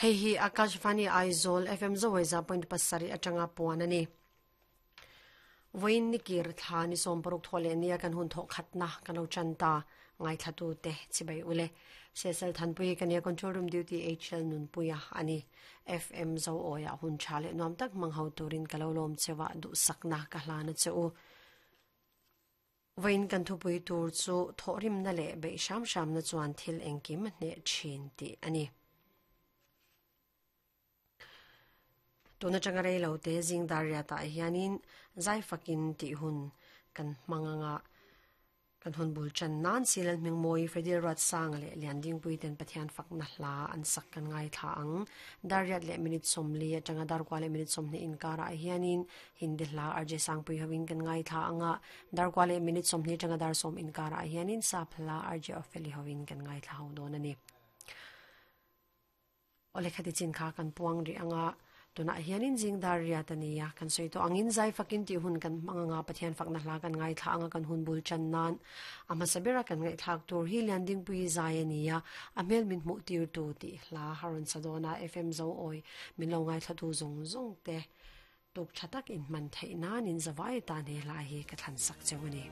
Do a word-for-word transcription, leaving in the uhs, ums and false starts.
Hei hi Akashvani Aizawl F M Zawaiza point pasari atanga puan ani. Voin nikir thla ni som paruk thole nia kan hun tho khatna kan lo chanta ngai thlatu te chibai ule sesal thanpui kania control room duty H L nun puya ani F M zo oya hun chale nom tak manghau turin kalolom chewa du sakna ka hlana cheu voin kan thupui tur chu thorim na le be sham sham na chuan thil engkim ne chin ti ani tuna changarei lo te jing daria ta hianin zai fakin ti hun kan manganga kan hun bul chan nan silal mingmoi fedil rat sang le landing pui ten pathian fak na hla an sak kan ngai tha ang dariat le minute somli atanga dar kwa le minute somni in kara hianin hindi hla arje sang pui hawin kan ngai tha anga dar kwa le minute somni tanga dar som in kara hianin sap hla arje ofeli hawin kan ngai tha ho don ani ole khati chin kha kan puang ri anga tuna hianin jing daria tania kan soito angin zai fakin ti hun kan manganga pathian fakna hla kan ngai thla anga kan hun bul chan nan ama sabira kan ngai thak tur hi landing pui zai ania amel min mu tir tu ti hla harun sadona F M zo oi min lo ngai thla tu zong zong te tuk thatak in man theina nin zawai ta ne la hi ka than sak chewani.